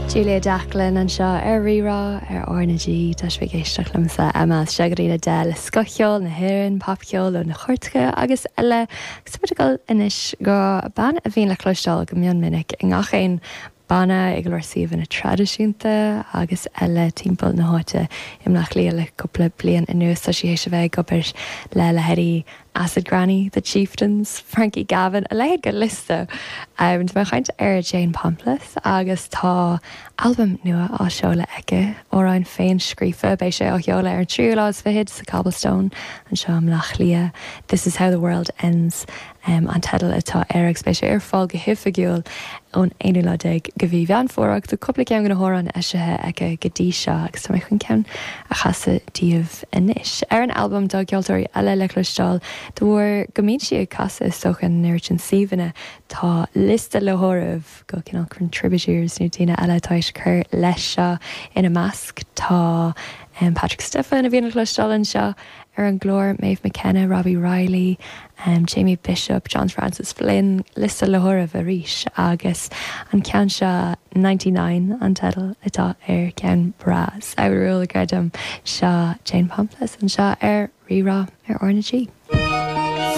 Julia Jacklin anseo ar Rí-Rá ar R na G. Tá sibh ag éisteacht liomsa, Emma, as 6 go dtí a 10 le scothcheol na hÉireann, popcheol ó na cairteacha agus eile. Agus tá muid ag dul anois go bean a bhíonn le cloisteáil go mion minic i ngach aon banna, i go leor suíomhanna traidisiúnta agus eile timpeall na háite i mBleá Cliath le cúpla bliain anuas. Tá sí théis a bheith ag obair le leithéidí Acid Granny, The Chieftains, Frankie Gavin, a leithéid de liosta. Tá mé ag caint ar Jane Pomplis agus tá albam nua á seoladh aici, amhráin féin-scríofa. Beidh sé á sheoladh ar an tríú lá is fichead sa Cobblestone anseo i mBleá Cliath. This is how the world ends. an teideal atá air agus beidh sé ar fáil go hoifigiúil ón aonú lá déag de mhí Mheán Fómhair agus tá cúpla ceann de na hamhráin eisithe aici go dtí seo agus tá mé chun ceann a chasadh daoibh anois. Ar an albam tá ceoltóirí eile le cloisteáil de bharr go mbíonn sí ag casadh is dócha in an oiread sin suíomhanna tá liosta le háireamh de chineál contributors nó daoine eile atá éis cur leis seo ina measc tá Patrick Stefan a bhíonn le cloisteáil anseo ar an gclár, Maeve McKenna, Robbie Reilly, Jamie Bishop, John Francis Flynn, liosta le háireamh arís agus an ceann seo 99 an teideal atá air, ceann breá samhrúil creidim. Seo Jane Pomplis anseo ar Rí-Rá ar R na G.